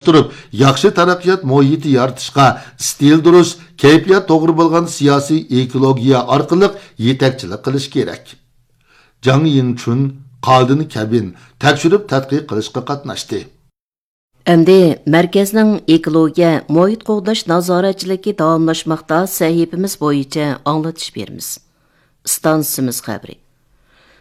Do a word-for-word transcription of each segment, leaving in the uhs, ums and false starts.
تۇرۇپ، ياخشى تەرەققىيات مۇھىتى يارىتىشقا ئىستىل دۇرۇس، كەيپىيات توغرا بولغان سىياسىي ئېكولوگىيە ئارقىلىق يېتەكچىلىك قىلىش كېرەك. جاڭ يىڭچۈن، قادىن كەبىن تەكشۈرۈپ تەتقىق قىلىشقا قاتناشتى. ئەمدى مەركەزنىڭ ئېكولوگىيە، مۇھىت قوغداش نازارەتچىلىكى داۋاملاشماقتا سەھىپىمىز بويىچە ئاڭلىتىش بېرىمىز. ئىستانسىمىز خەۋىرى.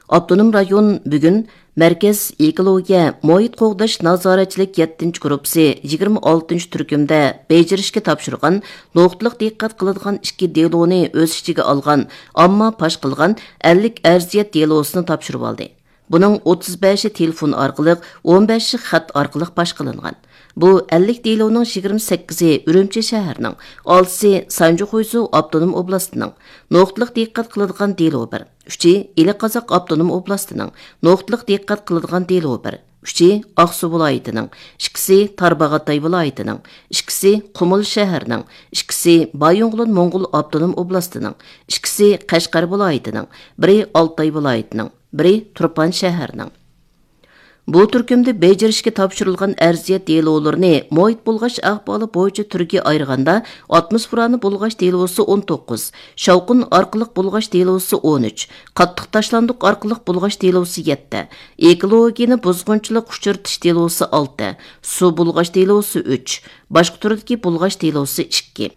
ئاپتونوم رايون بۈگۈن مەركەز ئېكولوگىيە، مۇھىت قوغداش نازارەتچىلىك يەتتىنچى گۇرۇپپىسى يىگىرمە ئالتىنچى تۈركۈمدە بېجىرىشكە تاپشۇرغان نۇقتىلىق دىققەت قىلىدىغان ئىككى دېلونى ئۆز ئىچىگە ئالغان ئامما پاش قىلغان ئەللىك ئەرزىيەت دېلوسىنى تاپشۇرۇۋالدى. بۇنىڭ ئوتتۇز بەشى تېلېفون ئارقىلىق، ئون بەشى خەت ئارقىلىق پاش قىلىنغان. بۇ ئەللىك دېلونىڭ يىگىرمە سەككىزى ئۈرۈمچى شەھىرىنىڭ، ئالتىسى سانجى خۇيزۇ ئاپتونوم ئوبلاستىنىڭ، نۇقتىلىق دىققەت قىلىدىغان دېلو بىر، ئۈچى ئىلى قازاق ئاپتونوم ئوبلاستىنىڭ، نۇقتىلىق دىققەت قىلىدىغان دېلو بىر، ئۈچى ئاقسۇ ۋىلايىتىنىڭ، ئىككىسى تارباغاتاي ۋىلايىتىنىڭ، ئىككىسى قۇمۇل شەھىرىنىڭ، ئىككىسى بايىنغولىن موڭغۇل ئاپتونوم ئوبلاستىنىڭ، ئىككىسى قەشقەر ۋىلايىتىنىڭ، بىرى ئالتاي ۋىلايىتىنىڭ، بىرى تۇرپان شەھىرىنىڭ. بۇ تۈركۈمدە بېجىرىشكە تاپشۇرۇلغان ئەرزىيەت دېلولىرىنى مۇھىت بۇلغاش ئەھۋالى بويىچە تۈرگە ئايرىغاندا، ئاتموسفېرانى بۇلغاش دېلوسى ئون توققۇز، شاۋقۇن ئارقىلىق بۇلغاش دېلوسى ئون ئۈچ، قاتتىق تاشلاندۇق ئارقىلىق بۇلغاش دېلوسى يەتتە، ئېكولوگىيىنى بۇزغۇنچىلىق ئۇچرىتىش دېلوسى ئالتە، سۇ بۇلغاش دېلوسى ئۈچ، باشقا تۈردىكى بۇلغاش دېلوسى ئىككى.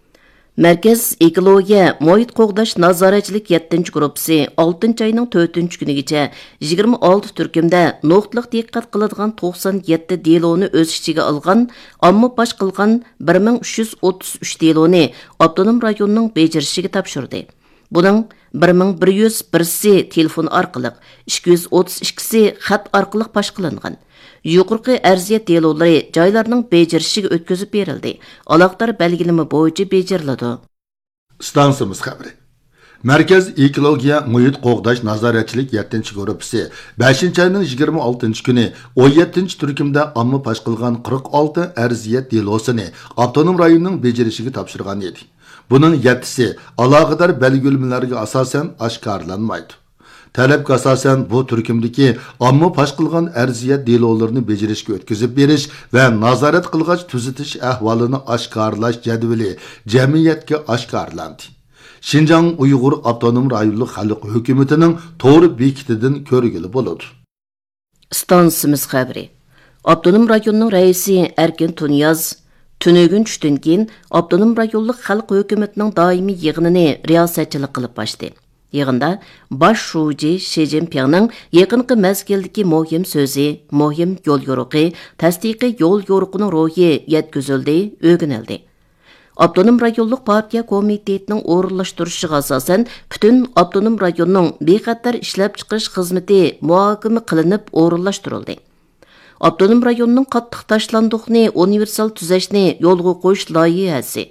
مەركەز ئېكولوگىيە، مۇھىت قوغداش نازارەتچىلىك يەتتىنچى گۇرۇپپىسى ئالتىنچى ئاينىڭ تۆتىنچى كۈنىگىچە يىگىرمە ئالتە تۈركۈمدە نۇقتىلىق دىققەت قىلىدىغان توقسان يەتتە دېلونى ئۆز ئىچىگە ئالغان، ئامما پاش قىلغان بىر مىڭ ئۈچ يۈز ئوتتۇز ئۈچ دېلونى ئاپتونوم رايوننىڭ بېجىرىشىگە تاپشۇردى. بۇنىڭ بىر مىڭ بىر يۈز بىرسى تېلېفون ئارقىلىق، ئىككى يۈز ئوتتۇز ئىككىسى خەت ئارقىلىق پاش قىلىنغان. يۇقىرىقى ئەرزىيەت دېلولىرى جايلارنىڭ بېجىرىشىگە ئۆتكۈزۈپ بېرىلدى، ئالاقىدار بەلگىلىمە بويىچە بېجىرىلىدۇ. ئىستانسىمىز خەۋىرى. مەركەز ئېكولوگىيە، مۇھىت قوغداش نازارەتچىلىك يەتتىنچى گۇرۇپپىسى بەشىنچى ئاينىڭ يىگىرمە ئالتىنچى كۈنى ئون يەتتىنچى تۈركۈمدە ئامما پاش قىلغان قىرىق ئالتە ئەرزىيەت دېلوسىنى ئاپتونوم رايوننىڭ بېجىرىشىگە تاپشۇرغان ئىدى. بۇنىڭ يەتتىسى ئالاقىدار بەلگىلىمىلەرگە ئاساسەن ئاشكارىلانمايدۇ. تەلەپكە ئاساسەن، بۇ تۈركۈمدىكى ئامما پاش قىلغان ئەرزىيەت دېلولىرىنى بېجىرىشكە ئۆتكۈزۈپ بېرىش ۋە نازارەت قىلغاچ تۈزىتىش ئەھۋالىنى ئاشكارىلاش جەدۋىلى جەمئىيەتكە ئاشكارىلاندى. شىنجاڭ ئۇيغۇر ئاپتونوم رايونلۇق خەلق ھۆكۈمىتىنىڭ تور بېكىتىدىن كۆرگىلى بولىدۇ. ئىستانسىمىز خەۋىرى. ئاپتونوم رايوننىڭ رەئىسى ئەركىن تۇنىياز تۈنۈگۈن چۈشتىن كېيىن ئاپتونوم رايونلۇق خەلق ھۆكۈمىتىنىڭ دائىمىي يىغىنىنى رىياسەتچىلىك قىلىپ ئاچتى. يىغىندا باش شۇجى شى جىنپىڭنىڭ يېقىنقى مەزگىلدىكى مۇھىم سۆزى، مۇھىم يول يورۇقى، تەستىقىي يول يورۇقىنىڭ روھى يەتكۈزۈلدى، ئۆگىنىلدى. ئاپتونوم رايونلۇق پارتىيە كومىتېتىنىڭ ئورۇنلاشتۇرۇشىغا ئاساسەن، پۈتۈن ئاپتونوم رايوننىڭ بىخەتەر ئىشلەپچىقىرىش خىزمىتى مۇھاكىمە قىلىنىپ ئورۇنلاشتۇرۇلدى. ئاپتونوم رايوننىڭ قاتتىق تاشلاندۇقنى ئۇنىۋېرسال تۈزەشنى يولغا قويۇش لايىھەسى،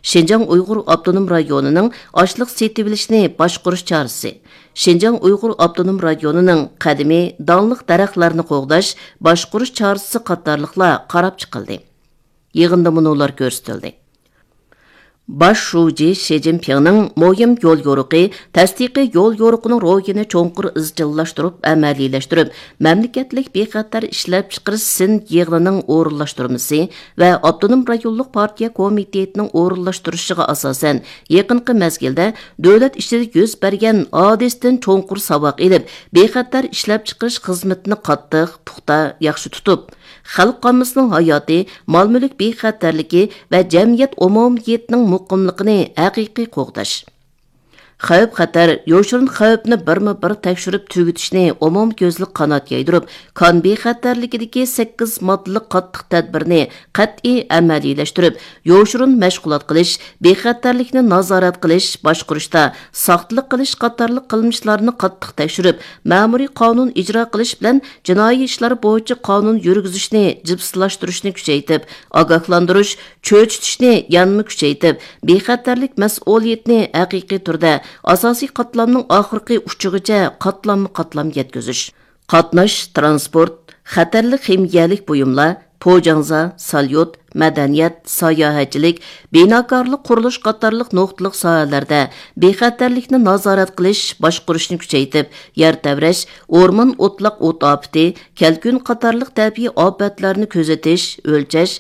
شىنجاڭ ئۇيغۇر ئاپتونوم رايونىنىڭ ئاشلىق سېتىۋېلىشنى باشقۇرۇش چارىسى، شىنجاڭ ئۇيغۇر ئاپتونوم رايونىنىڭ قەدىمىي داڭلىق دەرەخلەرنى قوغداش، باشقۇرۇش چارىسى قاتارلىقلار قاراپ چىقىلدى. يىغىندا مۇنۇلار كۆرسىتىلدى. باش شۇجى شى جىنپىڭنىڭ مۇھىم يول يورۇقى، تەستىقىي يول يورۇقىنىڭ روھىنى چوڭقۇر ئىزچىللاشتۇرۇپ ئەمەلىيلەشتۈرۈپ، مەملىكەتلىك بىخەتەر ئىشلەپچىقىرىش سىن يىغىنىنىڭ ئورۇنلاشتۇرمىسى ۋە ئاپتونوم رايونلۇق پارتىيە كومىتېتىنىڭ ئورۇنلاشتۇرۇشىغا ئاساسەن، يېقىنقى مەزگىلدە دۆلەت ئىچىدە يۈز بەرگەن ھادىسىدىن چوڭقۇر ساۋاق ئېلىپ، بىخەتەر ئىشلەپچىقىرىش خىزمىتىنى قاتتىق، پۇختا، ياخشى تۇتۇپ، خەلق ئاممىسىنىڭ ھاياتى، مال-مۈلۈك بىخەتەرلىكى ۋە جەمئىيەت ئومۇمىيىتىنىڭ مۇقىملىقىنى ھەقىقىي قوغداش. خەۋپ-خەتەر، يوشۇرۇن خەۋپنى بىرمۇ بىر تەكشۈرۈپ تۈگىتىشنى ئومۇميۈزلۈك قانات يايدۇرۇپ، كان بىخەتەرلىكىدىكى سەككىز ماددىلىق قاتتىق تەدبىرنى قەتئىي ئەمەلىيلەشتۈرۈپ، يوشۇرۇن مەشغۇلات قىلىش، بىخەتەرلىكنى نازارەت قىلىش، باشقۇرۇشتا ساختىلىق قىلىش قاتارلىق قىلمىشلارنى قاتتىق تەكشۈرۈپ، مەمۇرىي قانۇن ئىجرا قىلىش بىلەن جىنايى ئىشلار بويىچە قانۇن يۈرگۈزۈشنى جىپسىلاشتۇرۇشنى كۈچەيتىپ، ئاگاھلاندۇرۇش، چۆچۈتۈشنى يەنىمۇ كۈچەيتىپ، بىخەتەرلىك مەسئۇلىيىتىنى ھەقىقىي تۈردە ئاساسىي قاتلامنىڭ ئاخىرقى ئۇچىغىچە قاتلاممۇ قاتلام يەتكۈزۈش. قاتناش، تىرانسپورت، خەتەرلىك خىمىيەلىك بۇيۇملار، پوجاڭزا، ساليۇت، مەدەنىيەت، ساياھەتچىلىك، بىناكارلىق، قۇرۇلۇش قاتارلىق نۇقتىلىق ساھەلەردە بىخەتەرلىكنى نازارەت قىلىش، باشقۇرۇشنى كۈچەيتىپ، يەر تەۋرەش، ئورمان، ئوتلاق ئوت ئاپىتى، كەلكۈن قاتارلىق تەبىئىي ئاپەتلەرنى كۆزىتىش، ئۆلچەش،